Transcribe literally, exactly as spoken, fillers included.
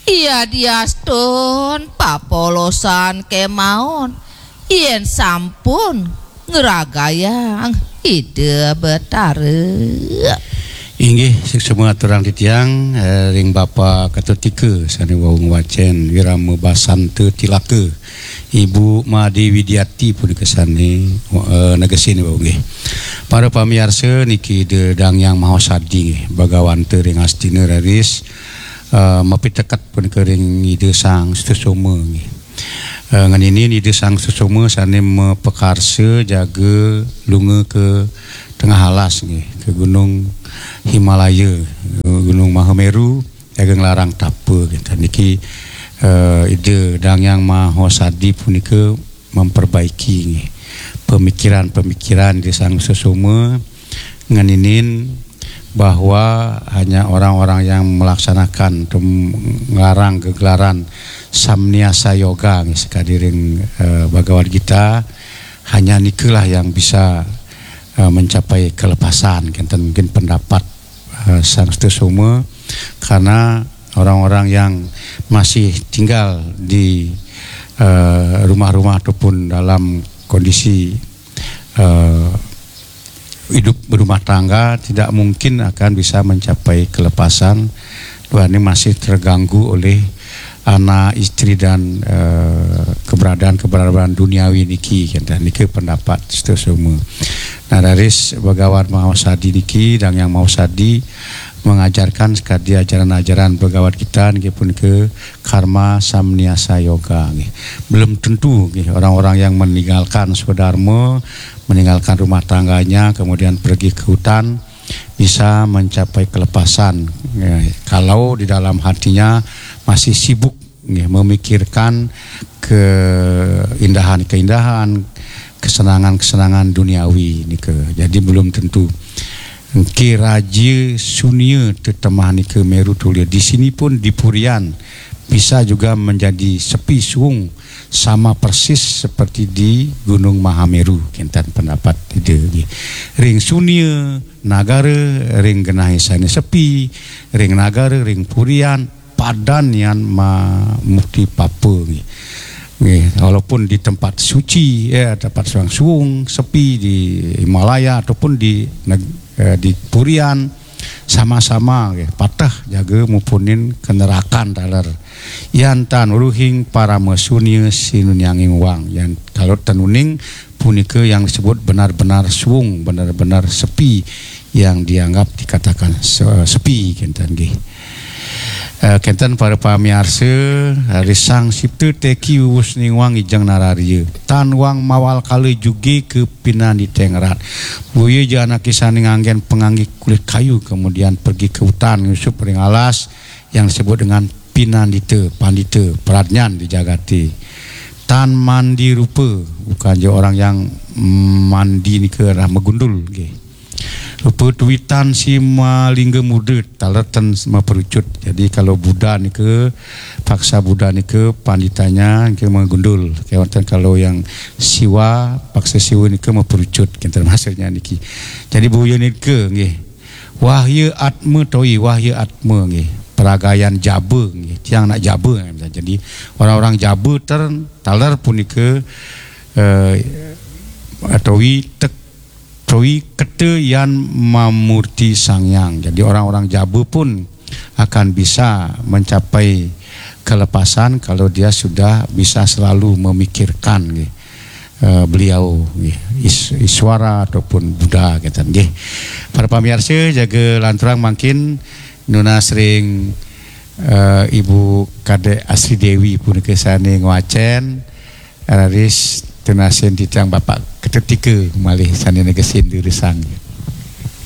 Iya diastun papolosan kemaon, yen sampun ngragayang Ida Betara. Inggih, suksma aturang titiang, eh, ring Bapa Katutika sane wau ngwacen Wirama Basanta Tilaka, Ibu Made Widiati punika sane, eh, negesin wau nggih. Para pamiarsa niki Ida Dang Hyang Mahasadi nggih, Bagawanta ring Astina raris, eh, mapiteket punika ring Ida Sang Sutasoma nggih. Eh, ngeninin Ida Sang Sutasoma sane mapakarsa jaga lunga ke tengah alas nggih, ke Gunung Himalaya, eh, Gunung Mahameru, jaga nglarang tapa gitu. Niki, eh, Ida Dang Hyang Mahasadi punika memperbaiki nggih pemikiran-pemikiran Ida Sang Sutasoma ngeninin bahwa hanya orang-orang yang melaksanakan atau ngarang gegelaran Samniasa Yoga nggih, sakadi ring, eh, Bhagavad Gita, hanya nikalah yang bisa, eh, mencapai kelepasan, kenten mungkin pendapat, eh, Sang Sutasoma, karena orang-orang yang masih tinggal di, eh, rumah-rumah ataupun dalam kondisi, eh, hidup berumah tangga tidak mungkin akan bisa mencapai kelepasan. Duaning masih terganggu oleh anak, istri, dan, eh, keberadaan-keberadaan duniawi niki, kenten. Niki pendapat Sutasoma. Nah, raris Bhagawan Mahasadi niki, Dang Hyang Mahasadi mengajarkan sakadi ajaran-ajaran Bhagavad Gita niki punika Karma Samniasa Yoga nggih. Belum tentu nggih orang-orang yang meninggalkan swadharma, meninggalkan rumah tangganya, kemudian pergi ke hutan, bisa mencapai kelepasan. Ya, kalau di dalam hatinya masih sibuk nggih, memikirkan keindahan-keindahan, kesenangan-kesenangan duniawi nika. Jadi belum tentu. Engke raja sunia tetemah nika Meru Tulia. Di sini pun di Purian bisa juga menjadi sepi suung sama persis seperti di Gunung Mahameru, kenten pendapat Ida nggih. Ring sunia nagara, ring genah sane sepi, ring nagara, ring Purian, padan yan ma-, mukti papa nggih. Nggih, walaupun di tempat suci, ya, tempat suang suung, sepi di Himalaya ataupun di neg-, eh, di Purian, sama-sama nggih, pateh jaga mupunin kenerakan taler. Yan tan uruhing parama sunya sinunianging wang. Yan kalau tenuning punika yang disebut benar-benar suung, benar-benar sepi, yang dianggap dikatakan se-, sepi, kenten nggih. Eh, kenten para pamiarsa, risang sipta teki uwus ningwang ijeng nararia. Tan wang mawal kala juge ke pinandita ngrat. Buya ja anake sane nganggen pangangge kulit kayu, kemudian pergi ke hutan, nyusup ring alas yang disebut dengan pinandita, pandita, pradnyan di jagate. Tan mandi rupa, bukan je orang yang mandi nika adalah megundul, nggih. Rupa tuwitan si malingga muda, taler ten maperucut. Jadi kalau Buddha nika, paksa Buddha nika panditanya nika megundul. Kewanten kalau yang Siwa, paksa Siwa nika maperucut, kenten maksudnya niki. Jadi buya nika nggih. Wahya Atma Towi, Wahya Atma nggih. Peragayan jaba nggih. Tiang nak jaba nggih. Jadi orang-orang jaba ter-, taler punika, eh, Towi tek-, Towi keta yan mamurti Sang Hyang. Jadi orang-orang jaba pun akan bisa mencapai kelepasan kalau dia sudah bisa selalu memikirkan nggih, eh, beliau nggih, Is-, Iswara ataupun Buddha kenten nggih. Para pamiarsa, jaga lanturang mangkin nunas ring, eh, Ibu Kadek Asri Dewi punika sane ngwacen, raris tunasin titiang Bapak Ketetika malih sane negesin dirisang.